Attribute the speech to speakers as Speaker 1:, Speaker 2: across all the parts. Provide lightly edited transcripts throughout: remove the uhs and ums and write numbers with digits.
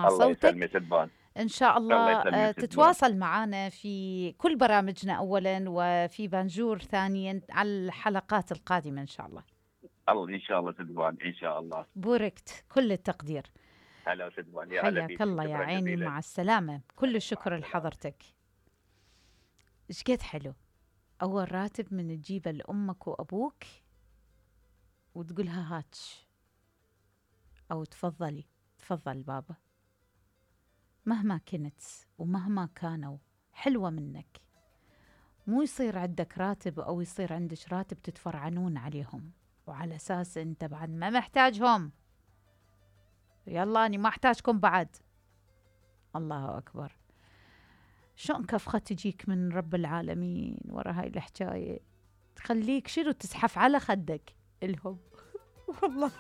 Speaker 1: نسمع
Speaker 2: الله
Speaker 1: صوتك.
Speaker 2: يسلمك سلمان.
Speaker 1: إن شاء
Speaker 2: الله
Speaker 1: الله
Speaker 2: يسلمك سلمان.
Speaker 1: تتواصل معنا في كل برامجنا أولا، وفي بانجور ثانيا، على الحلقات القادمة إن شاء الله.
Speaker 2: الله ان شاء الله سلمان، ان شاء الله.
Speaker 1: بوركت، كل التقدير.
Speaker 2: هلا سلمان، يا هلا
Speaker 1: حياك
Speaker 2: فيك.
Speaker 1: الله يا
Speaker 2: شكراً
Speaker 1: عيني،
Speaker 2: جزيلاً.
Speaker 1: مع السلامة. كل
Speaker 2: مع
Speaker 1: الشكر
Speaker 2: السلامة.
Speaker 1: لحضرتك. إيش قد حلو أول راتب من تجيبه لأمك وأبوك وتقولها هاتش، أو تفضلي، تفضل بابا، مهما كنت ومهما كانوا حلوة منك. مو يصير عندك راتب أو يصير عندك راتب تتفرعنون عليهم، وعلى أساس أنت بعد ما محتاجهم. يلا أنا ما أحتاجكم بعد. الله أكبر. شلون كفخة تجيك من رب العالمين ورا هاي الحكاية، تخليك شنو تزحف على خدك الهم. والله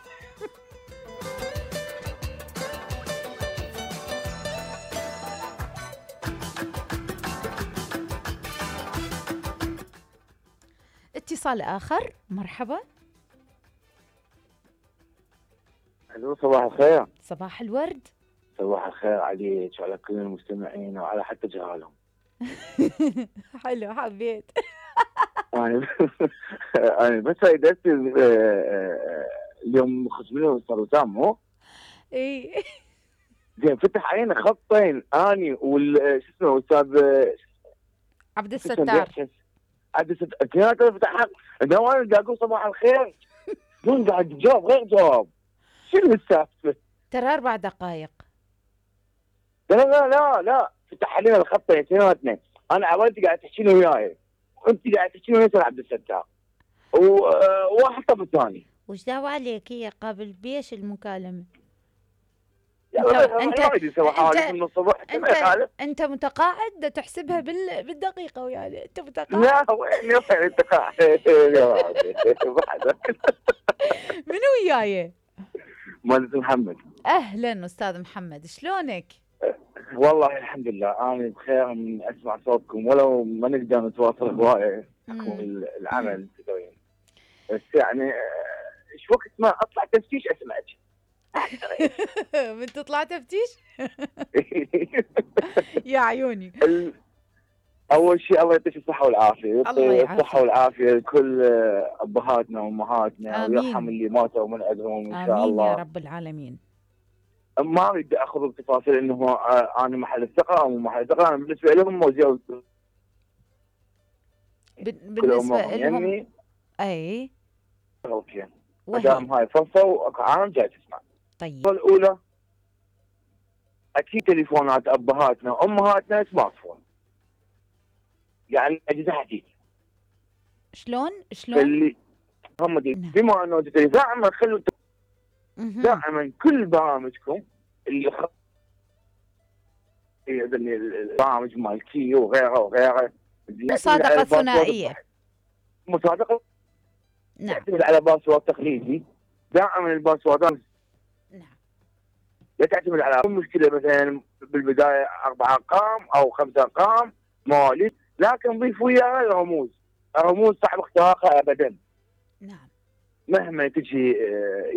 Speaker 1: اتصال آخر. مرحبا.
Speaker 3: الو، صباح الخير.
Speaker 1: صباح الورد.
Speaker 3: صباح الخير عليك وعلى كل المستمعين وعلى حتى جهالهم.
Speaker 1: حلو، حبيت.
Speaker 3: انا انا بس اريد اليوم خصمي صاروا تام
Speaker 1: اي
Speaker 3: زين، فتح علينا خطين اني شو اسمه استاذ
Speaker 1: عبد الستار.
Speaker 3: عبد الستار كان فتح حق انا قاعد اقول صباح الخير، دون قاعد تجاوب غير جواب. شنو السالفه؟
Speaker 1: ترى 4 دقائق.
Speaker 3: لا لا لا لا، فتح علينا الخطين اثنيناتنا. انا عوالتي قاعد تحكينا وياي، وانت قاعد تحكينا ويا عبد الستار، وواحد طب الثاني.
Speaker 1: وش دعوة عليك؟ هي قابل بيش المكالمة. انت متقاعد تحسبها بالدقيقة وياي. انت متقاعد.
Speaker 3: لا وين انت قاعد؟
Speaker 1: منو وياي؟
Speaker 3: مهندس محمد.
Speaker 1: اهلا استاذ محمد، شلونك؟
Speaker 3: والله الحمد لله انا بخير من اسمع صوتكم، ولو ما نقدر نتواصل هوايه حكم العمل تدرين، بس يعني ايش وقت ما اطلع تفتيش اسمعك.
Speaker 1: من تطلع تفتيش؟ يا عيوني.
Speaker 3: اول شيء الله يعطيك الصحه والعافيه،
Speaker 1: يعطيك
Speaker 3: الصحه والعافيه لكل ابهاتنا وامهاتنا، ويرحم اللي ماتوا من عندهم ان شاء الله.
Speaker 1: امين يا رب العالمين.
Speaker 3: ما اريد اخذ بتفاصيل انه انا محل الثقه او مو محل الثقه. انا بالنسبه لهم موزع
Speaker 1: بالنسبه لهم اي
Speaker 3: اوكي. ما دام هاي فرصه وعام جاي تسمع.
Speaker 1: طيب
Speaker 3: الاولى اكيد تليفونات ابهاتنا وامهاتنا سمارت فون، يعني اجهزه حديثه.
Speaker 1: شلون
Speaker 3: اللي هم بما انه دائما خلوا دائما كل برامجكم اللي البرامج مال كيو وغيره
Speaker 1: مصادقه ثنائيه.
Speaker 3: مصادقه
Speaker 1: نعم.
Speaker 3: تعتمد على باسورد تقليدي. دائما الباسوردات
Speaker 1: نعم
Speaker 3: لا تعتمد على مشكله مثلا بالبدايه 4 ارقام او 5 ارقام مواليد، لكن ضيف وياها الرموز صعب اختراقها ابدا.
Speaker 1: نعم.
Speaker 3: مهما تجي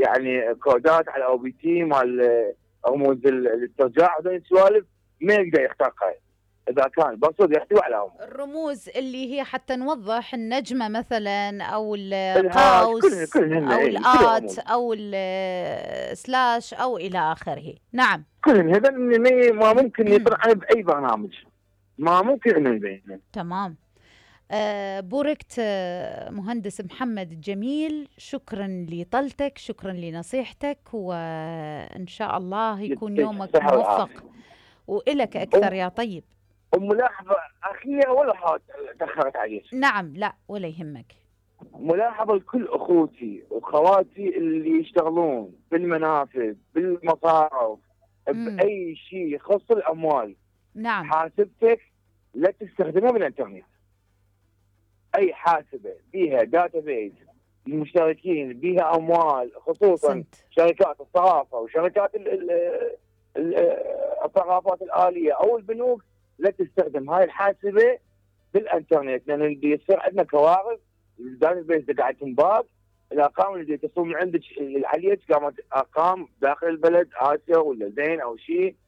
Speaker 3: يعني كودات على او بي تي مال رموز الاسترجاع هذول السوالف ما يقدر يخترقها اذا كان باسورد يحتوي على
Speaker 1: الرموز اللي هي حتى نوضح النجمه مثلا او القوس او الات او السلاش او الى اخره. نعم
Speaker 3: كلهم هذا ما ممكن يطلع باي برنامج، ما ممكن انه يبين.
Speaker 1: تمام. بوركت مهندس محمد الجميل، شكرا لطلتك، شكرا لنصيحتك، وإن شاء الله يكون يومك موفق وإلك أكثر يا طيب.
Speaker 3: وملاحظة أخيرة ولا تأخرت عليك؟
Speaker 1: نعم لا ولا يهمك.
Speaker 3: ملاحظة لكل أخوتي وخواتي اللي يشتغلون بالمنافذ بالمصارف بأي شيء يخص الأموال.
Speaker 1: نعم.
Speaker 3: حاسبتك لا تستخدمها بالإنترنت. اي حاسبه بيها داتابيز المشتركين بيها اموال، خصوصا شركات الصرافه وشركات الصرافات الاليه او البنوك، لا تستخدم هاي الحاسبه بالانترنت، لان اللي يصير عندنا كوارث. الداتابيز قاعد تنباع، الارقام اللي تصل من عندك عليك قامت ارقام داخل البلد اسيا ولا زين او شيء،